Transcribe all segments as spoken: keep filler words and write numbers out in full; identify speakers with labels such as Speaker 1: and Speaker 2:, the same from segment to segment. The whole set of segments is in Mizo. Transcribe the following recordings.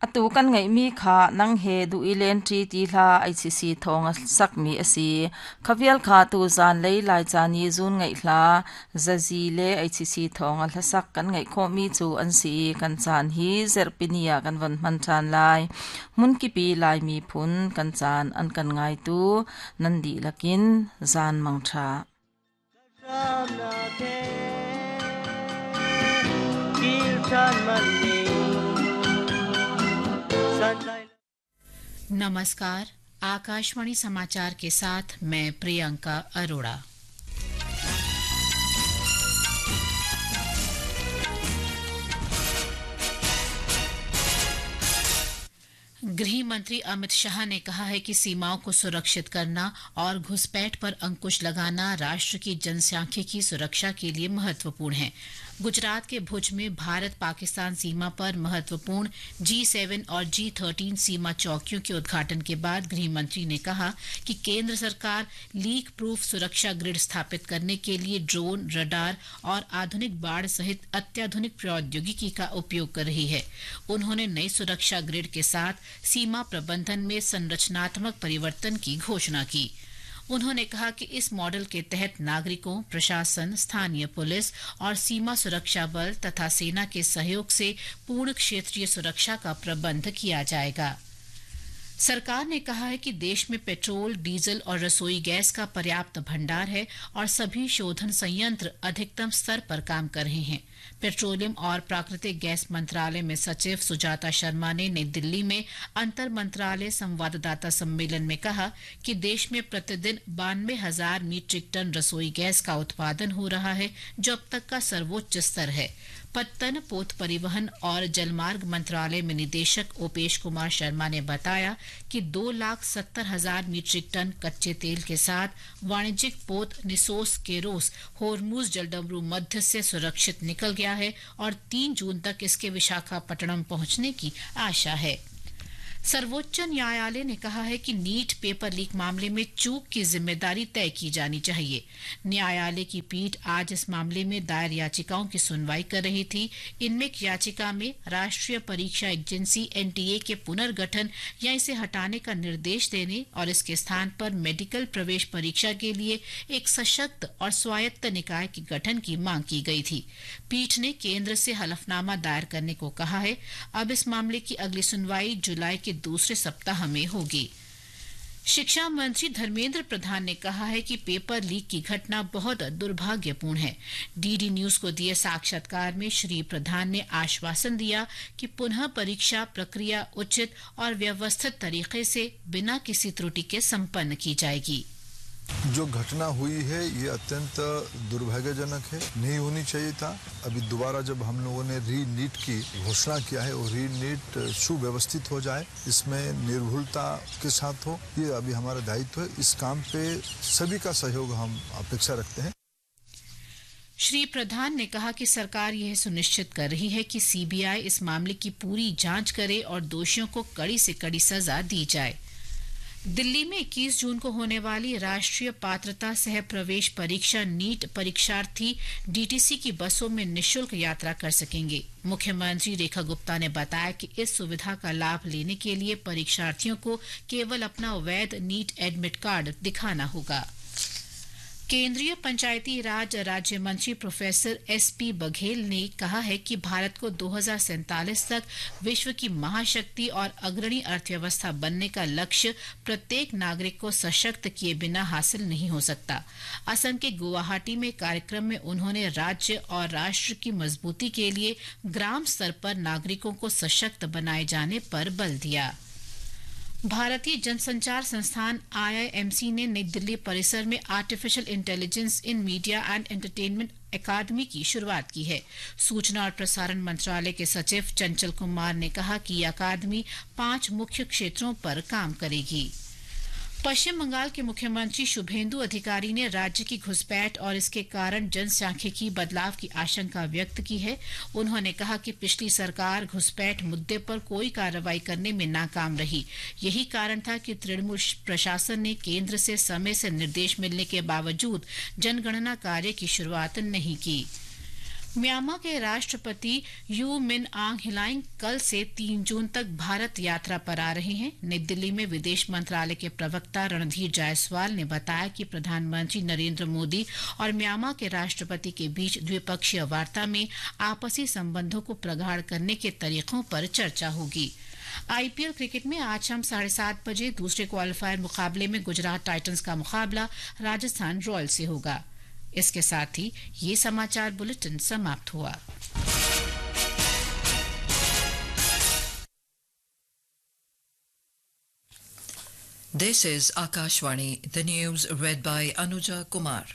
Speaker 1: Atu kan ngai mi kha nang he du ilen tri ti hla I C C thong sak mi asi khavial kha tu zan lei lai chani zun ngai hla zazi le I C C thong a hla sak kan ngai kho mi chu an si kan chan hi zerpinia kan van man chan lai mun ki pi lai mi phun kan chan an kan ngai tu nandi lakin zan mang tha.
Speaker 2: नमस्कार, आकाशवाणी समाचार के साथ मैं प्रियंका अरोड़ा। गृह मंत्री अमित शाह ने कहा है कि सीमाओं को सुरक्षित करना और घुसपैठ पर अंकुश लगाना राष्ट्र की जनसांख्यिकी सुरक्षा के लिए महत्वपूर्ण है। गुजरात के भुज में भारत पाकिस्तान सीमा पर महत्वपूर्ण जी सेवन और जी थर्टीन सीमा चौकियों के उद्घाटन के बाद गृह मंत्री ने कहा कि केंद्र सरकार लीक प्रूफ सुरक्षा ग्रिड स्थापित करने के लिए ड्रोन, रडार और आधुनिक बाढ़ सहित अत्याधुनिक प्रौद्योगिकी का उपयोग कर रही है। उन्होंने नई सुरक्षा ग्रिड के साथ सीमा प्रबंधन में संरचनात्मक परिवर्तन की घोषणा की। उन्होंने कहा कि इस मॉडल के तहत नागरिकों, प्रशासन, स्थानीय पुलिस और सीमा सुरक्षा बल तथा सेना के सहयोग से पूर्ण क्षेत्रीय सुरक्षा का प्रबंध किया जाएगा। सरकार ने कहा है कि देश में पेट्रोल, डीजल और रसोई गैस का पर्याप्त भंडार है और सभी शोधन संयंत्र अधिकतम स्तर पर काम कर रहे हैं। पेट्रोलियम और प्राकृतिक गैस मंत्रालय में सचिव सुजाता शर्मा ने नई दिल्ली में अंतर मंत्रालय संवाददाता सम्मेलन में कहा कि देश में प्रतिदिन बानवे हजार मीट्रिक टन रसोई गैस का उत्पादन हो रहा है, जो अब तक का सर्वोच्च स्तर है। पत्तन, पोत परिवहन और जलमार्ग मंत्रालय में निदेशक ओपेश कुमार शर्मा ने बताया कि दो लाख सत्तर हजार मीट्रिक टन कच्चे तेल के साथ वाणिज्यिक पोत निसोस केरोस होर्मुज जलडमरू मध्य से सुरक्षित निकल गया है और तीन जून तक इसके विशाखापट्टनम पहुंचने की आशा है। सर्वोच्च न्यायालय ने कहा है कि NEET paper leak मामले में चूक की जिम्मेदारी तय की जानी चाहिए। न्यायालय की पीठ आज इस मामले में दायर याचिकाओं की सुनवाई कर रही थी। इनमें एक याचिका में राष्ट्रीय परीक्षा agency N T A के पुनर्गठन या इसे हटाने का निर्देश देने और इसके स्थान पर मेडिकल प्रवेश परीक्षा के लिए एक सशक्त और स्वायत्त निकाय के गठन की मांग की गई थी। पीठ ने केंद्र से हलफनामा दायर करने को कहा है। अब इस मामले की अगली सुनवाई जुलाई के दूसरे सप्ताह में होगी। शिक्षा मंत्री धर्मेंद्र प्रधान ने कहा है कि पेपर लीक की घटना बहुत दुर्भाग्यपूर्ण है। डीडी न्यूज को दिए साक्षात्कार में श्री प्रधान ने आश्वासन दिया कि पुनः परीक्षा प्रक्रिया उचित और व्यवस्थित तरीके से बिना किसी त्रुटि के संपन्न की जाएगी।
Speaker 3: जो घटना हुई है ये अत्यंत दुर्भाग्यजनक है, नहीं होनी चाहिए था। अभी दोबारा जब हम लोगों ने री नीट की घोषणा किया है और री नीट सुव्यवस्थित हो जाए, इसमें निर्भुलता के साथ हो, ये अभी हमारा दायित्व है। इस काम पे सभी का सहयोग हम अपेक्षा रखते हैं।
Speaker 2: श्री प्रधान ने कहा कि सरकार यह सुनिश्चित कर रही है कि C B I इस मामले की पूरी जांच करे और दोषियों को कड़ी से कड़ी सजा दी जाए। दिल्ली में इक्कीस जून को होने वाली राष्ट्रीय पात्रता सह प्रवेश परीक्षा नीट परीक्षार्थी D T C की बसों में निःशुल्क यात्रा कर सकेंगे। मुख्यमंत्री रेखा गुप्ता ने बताया कि इस सुविधा का लाभ लेने के लिए परीक्षार्थियों को केवल अपना वैध NEET admit card दिखाना होगा। केंद्रीय पंचायती राज राज्य मंत्री professor S P Baghel ने कहा है कि भारत को दो हज़ार सैंतालीस तक विश्व की महाशक्ति और अग्रणी अर्थव्यवस्था बनने का लक्ष्य प्रत्येक नागरिक को सशक्त किए बिना हासिल नहीं हो सकता। असम के गुवाहाटी में कार्यक्रम में उन्होंने राज्य और राष्ट्र की मजबूती के लिए ग्राम स्तर पर नागरिकों को सशक्त बनाए जाने पर बल दिया। भारतीय जनसंचार संस्थान आई I M C ने नई दिल्ली परिसर में artificial intelligence in media and entertainment अकादमी की शुरुआत की है। सूचना और प्रसारण मंत्रालय के सचिव चंचल कुमार ने कहा कि यह अकादमी पांच मुख्य क्षेत्रों पर काम करेगी। पश्चिम बंगाल के मुख्यमंत्री शुभेंदु अधिकारी ने राज्य की घुसपैठ और इसके कारण जनसांख्यिकी बदलाव की आशंका व्यक्त की है। उन्होंने कहा कि पिछली सरकार घुसपैठ मुद्दे पर कोई कार्रवाई करने में नाकाम रही। यही कारण था कि तृणमूल प्रशासन ने केंद्र से समय से निर्देश मिलने के बावजूद जनगणना कार्य की शुरुआत नहीं की। Myanmar के राष्ट्रपति you मिन आंग हिलाइंग कल से तीन जून तक भारत यात्रा पर आ रहे हैं। नई दिल्ली में विदेश मंत्रालय के प्रवक्ता रणधीर जायसवाल ने बताया कि प्रधानमंत्री नरेंद्र मोदी और म्यांमा के राष्ट्रपति के बीच द्विपक्षीय वार्ता में आपसी संबंधों को प्रगाढ़ करने के तरीकों पर चर्चा होगी। आईपीएल क्रिकेट में आज शाम साढ़े सात बजे दूसरे क्वालिफायर मुकाबले में गुजरात टाइटंस का मुकाबला राजस्थान रॉयल्स से होगा। इसके साथ ही ये समाचार बुलेटिन समाप्त हुआ।
Speaker 4: This is Akashvani, the news read by Anuja Kumar.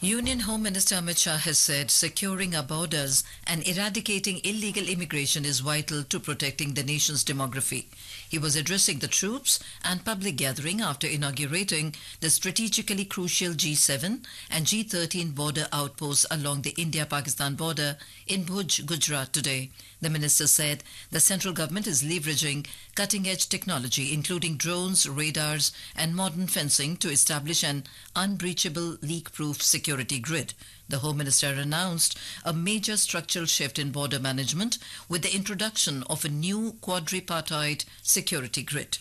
Speaker 4: Union Home Minister Amit Shah has said securing our borders and eradicating illegal immigration is vital to protecting the nation's demography. He was addressing the troops and public gathering after inaugurating the strategically crucial G seven and G thirteen border outposts along the India-Pakistan border in Bhuj, Gujarat today. The minister said the central government is leveraging cutting-edge technology, including drones, radars and modern fencing, to establish an unbreachable, leak-proof security grid. The Home Minister announced a major structural shift in border management with the introduction of a new quadripartite security grid.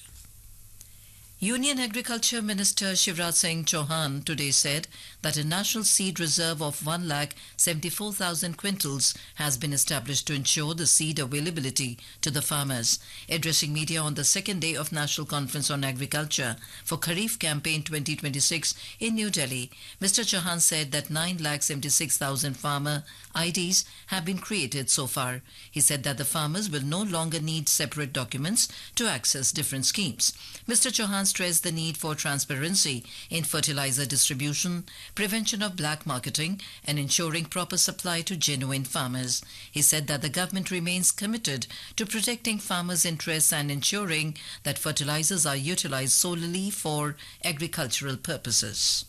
Speaker 4: Union Agriculture Minister Shivraj Singh Chauhan today said that a national seed reserve of one lakh seventy-four thousand quintals has been established to ensure the seed availability to the farmers. Addressing media on the second day of National Conference on Agriculture for Kharif Campaign twenty twenty-six in New Delhi, Mister Chauhan said that nine lakh seventy-six thousand farmer I Ds have been created so far. He said that the farmers will no longer need separate documents to access different schemes. Mister Chauhan stressed the need for transparency in fertilizer distribution, prevention of black marketing, and ensuring proper supply to genuine farmers. He said that the government remains committed to protecting farmers' interests and ensuring that fertilizers are utilized solely for agricultural purposes.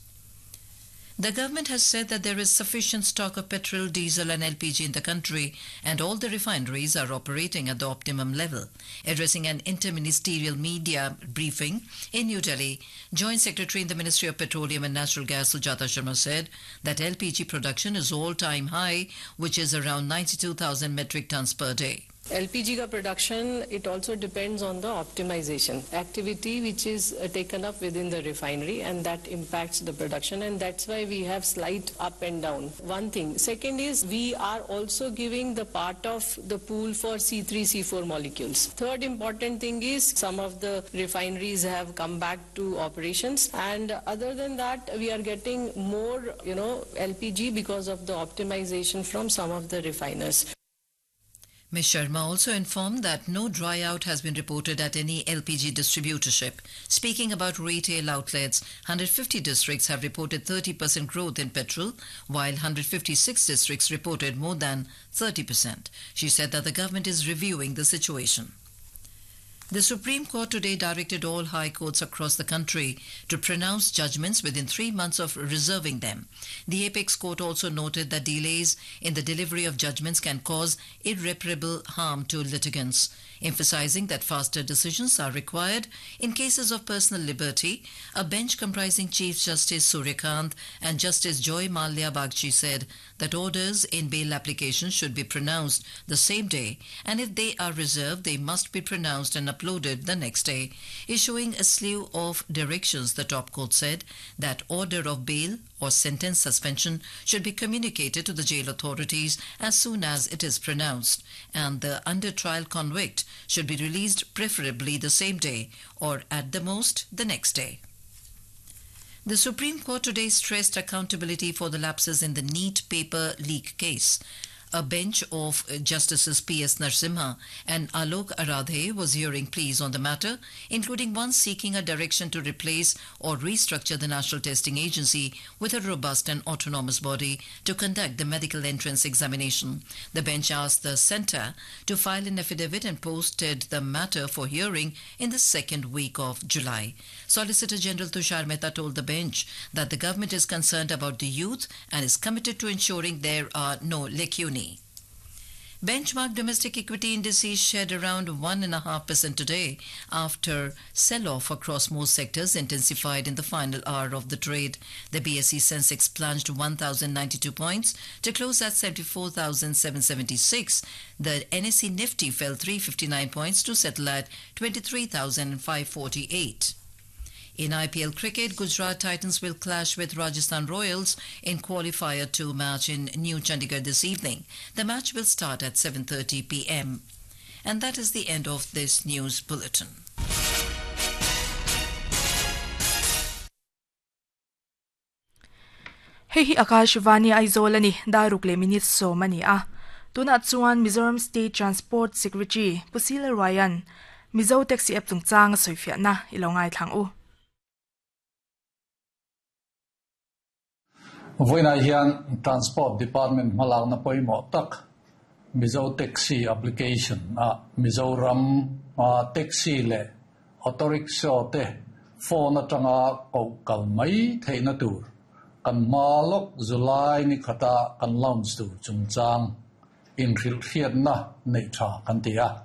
Speaker 4: The government has said that there is sufficient stock of petrol, diesel and L P G in the country and all the refineries are operating at the optimum level. Addressing an interministerial media briefing in New Delhi, Joint Secretary in the Ministry of Petroleum and Natural Gas Sujata Sharma said that L P G production is all-time high, which is around ninety-two thousand metric tons per day.
Speaker 5: L P G ka production, it also depends on the optimization activity which is uh, taken up within the refinery, and that impacts the production, and that's why we have slight up and down. One thing. Second is we are also giving the part of the pool for C three, C four molecules. Third important thing is some of the refineries have come back to operations, and other than that we are getting more, you know, L P G because of the optimization from some of the refiners.
Speaker 4: Miz Sharma also informed that no dry-out has been reported at any L P G distributorship. Speaking about retail outlets, one hundred fifty districts have reported thirty percent growth in petrol, while one hundred fifty-six districts reported more than thirty percent. She said that the government is reviewing the situation. The Supreme Court today directed all high courts across the country to pronounce judgments within three months of reserving them. The Apex Court also noted that delays in the delivery of judgments can cause irreparable harm to litigants, emphasizing that faster decisions are required in cases of personal liberty. A bench comprising Chief Justice Surya Kant and Justice Joy Malya Bagchi said that orders in bail applications should be pronounced the same day, and if they are reserved, they must be pronounced and uploaded the next day. Issuing a slew of directions, the top court said that order of bail or sentence suspension should be communicated to the jail authorities as soon as it is pronounced, and the under-trial convict should be released preferably the same day or at the most the next day. The Supreme Court today stressed accountability for the lapses in the NEET paper leak case. A bench of Justices P S Narasimha and Alok Aradhe was hearing pleas on the matter, including one seeking a direction to replace or restructure the National Testing Agency with a robust and autonomous body to conduct the medical entrance examination. The bench asked the centre to file an affidavit and posted the matter for hearing in the second week of July. Solicitor General Tushar Mehta told the bench that the government is concerned about the youth and is committed to ensuring there are no lacunae. Benchmark domestic equity indices shed around one point five percent today after sell-off across most sectors intensified in the final hour of the trade. The B S E Sensex plunged one thousand ninety-two points to close at seventy-four thousand seven hundred seventy-six. The N S E Nifty fell three hundred fifty-nine points to settle at twenty-three thousand five hundred forty-eight. In I P L cricket, Gujarat Titans will clash with Rajasthan Royals in qualifier two match in New Chandigarh this evening. The match will start at seven thirty p m. And that is the end of this news bulletin.
Speaker 6: Hei hi Akashvani Aizawl ani daruk le minute sawm ani a. Tunah chuan Mizoram State Transport Secretary Pusila Ryan Mizo Taxi app chungchang a sawifiahna i lo ngai thlang u.
Speaker 7: Voina hian Transport Department hmalak na pawimawh tak Mizo Taxi application a Mizoram a taxi leh auto rickshaw te phone atanga koh kal mai theihna tur kan hma lawk July ni khata kan launch tur chungchang in hrilh hriatna nei tha kan ti a.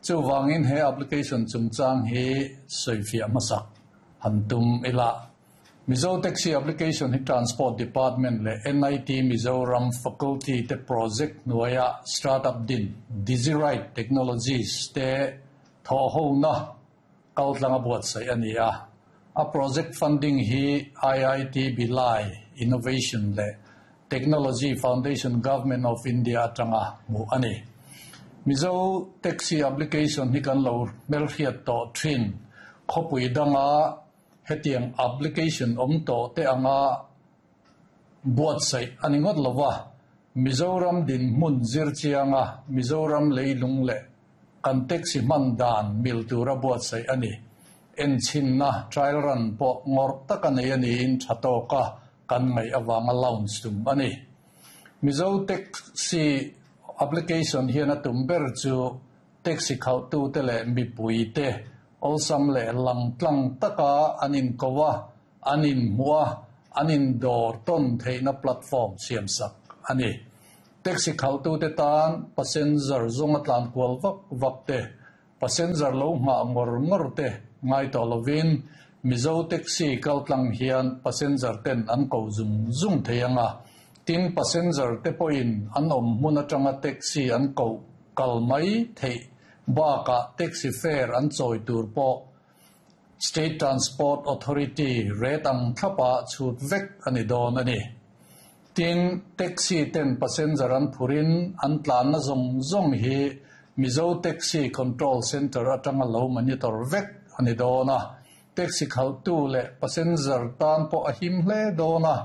Speaker 7: Chuwangin he application chungchang hi sawifiah hmasak han tum ila. Mizo Taxi application hi Transport Department le N I T Mizoram Faculty te project nuaya startup din Digiride Technologies te tho ho na kautlanga buat sai ani a. A project funding hi I I T Bhilai Innovation le Technology Foundation Government of India atanga mu ani. Mizo Taxi application hi kan lo melhiat to thin khopui danga hetiang application om to te anga buat sai ani ngot lowa Mizoram din mun zir chianga Mizoram leilung le kan taxi man dan mil tura buat sai ani en chin na trial run po ngor taka nei ani in thatoka kan ngai awanga launch tum ani. Mizo Taxi application hian a tum ber chu taxi khau tu te le mi pui te olsam le lang tlang taka anin kowa anin mua anin dor ton theina platform siam sak ani. Taxi khau tu te tan passenger zong atlan kwal vak vak te passenger lo nga ngor ngor te ngai to lovin Mizo Taxi kal tlang hian passenger ten an ko zum zum theianga tin passenger te poin an om mun atanga taxi an ko kal mai thei ba ka taxi fare an choi tur po State Transport Authority rate ang thapa chut vek ani don ani. Tin taxi ten passenger an phurin an tlan na zong zong hi Mizo Taxi Control Center atanga lo monitor vek ani dona. Taxi khal tu le passenger tan po a him hle dona.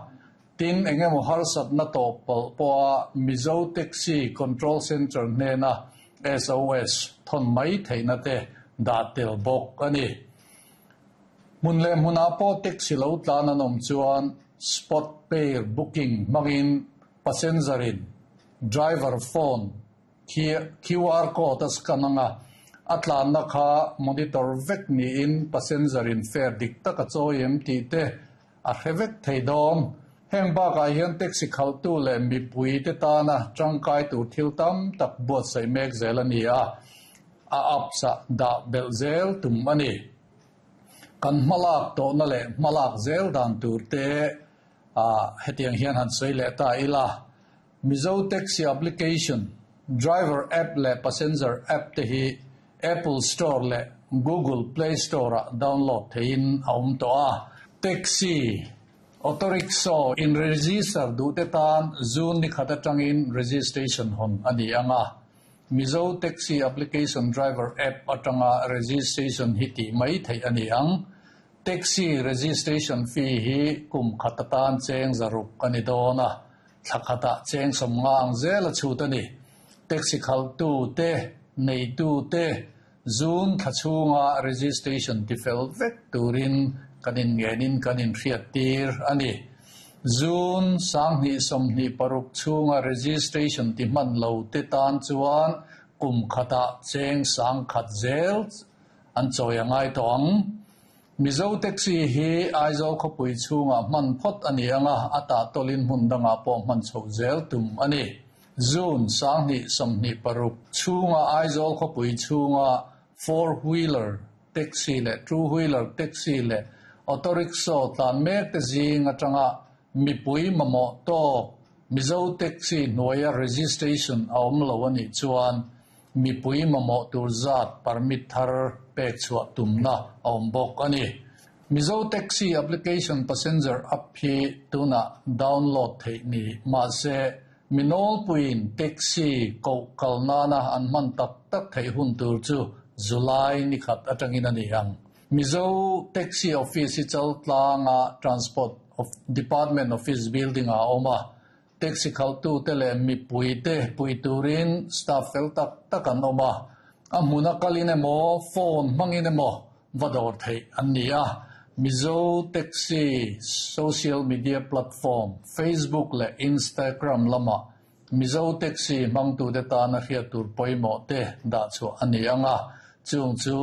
Speaker 7: Tin engemaw harsat na to pal po a Mizo Taxi Control Center hne na S O S thon mai theina te da tel bawk ani. Mun le hmuna pawh taxi lo tlan an awm chuan spot pair booking hmangin passenger in driver phone Q R code a scan anga a tlan na kha monitor vek niin passenger in fare dik tak a chawi em tih te a hre vek thei dawn. Heng bakah hian taxi khal tu le mipui te tana tangkai tur thil tam tak buat sai mek zel ani a. A apsa da bel zel tum ani. Kan hmalak tawh na leh hmalak zel dan tur te a hetiang hian han sawi leh ta ila. Mizo Taxi application driver app le passenger app te hi Apple Store le Google Play Store a download theiin a awm tawh a. Taxi auto rickshaw in register du te tan June ni khat atangin registration hon ani anga. Mizo Taxi application driver app atanga registration hi ti mai thei ani ang. Taxi registration fee hi kum khat atan cheng zaruk ani dona. Thlakhata cheng somnga ang zel a chhut ani. Taxi khal tu te nei tu te June thachunga registration ti fel vek turin kanin ngenin kanin hriat tir ani. June sang ni som ni paruk chunga registration ti man lo te tan chuan kum khata cheng sang khat zel an chawi angai tawng. Mizo Taxi hi Aizawl khawpui chunga hman phawt ani anga ata tawlin hmun danga pawh hman chho zel tum ani. June sanghnih sawmhnih paruk chhunga Aizawl khawpui chhunga four wheeler taxi leh two wheeler taxi leh auto rickshaw tlan mek te zing atanga mipui mamawh tawk Mizo taxi hnuaia registration a awm lo anih chuan mipui mamawh tur zat permit thar pek chhuah tumna a awm bawk a ni. Mizo taxi application passenger app hi tuna download theih ni mahse minawlpuiin taxi koh kal nana an hman tak tak theih hun tur chu July ni khat atangin a ni ang. Mizo taxi office hi Chaltlanga Transport of Department Office building a awm a, taxi khaltu te leh mipui te pui turin staff fel tak tak an awm a, a hmuna kalin emaw phone hmangin emaw va dawr theih an ni a. Mizo taxi social media platform Facebook leh Instagram lama Mizo taxi hmangtu te tana hriat tur pawimawh te dah chhuah a ni anga, chung chu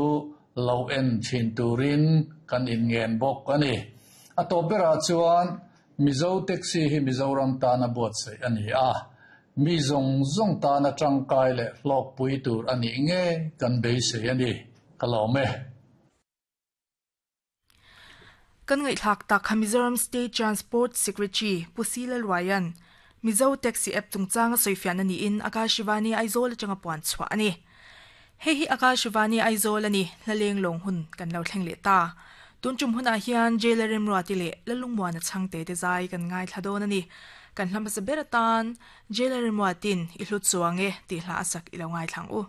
Speaker 7: lo en thin turin kan inngen bawk a ni. A tawp berah chuan Mizo taxi hi Mizoram tana buatsaih a ni a, mi zawng zawng tana tangkai leh hlawkpui tur a nih nge kan beisei a ni. Ka lawm e.
Speaker 6: Kan ngaihthlak tak kha Mizoram State Transport Secretary Pu Sila Luaian Mizo Taxi app chungchanga sawifiahna niin Akashvani Aizawl atanga puan chhuah a ni. Hei hi Akashvani Aizawl a ni, hlaleng lawng hun kan lo thleng leh ta. Tun tum hunah hian Jailer Remruati leh Lalungmuana chhangte te zai kan ngaithla dawn a ni. Kan hla hmasa ber atan Jailer Remruatin i hlut chuang e tih hla a sak i lo ngaithlang u.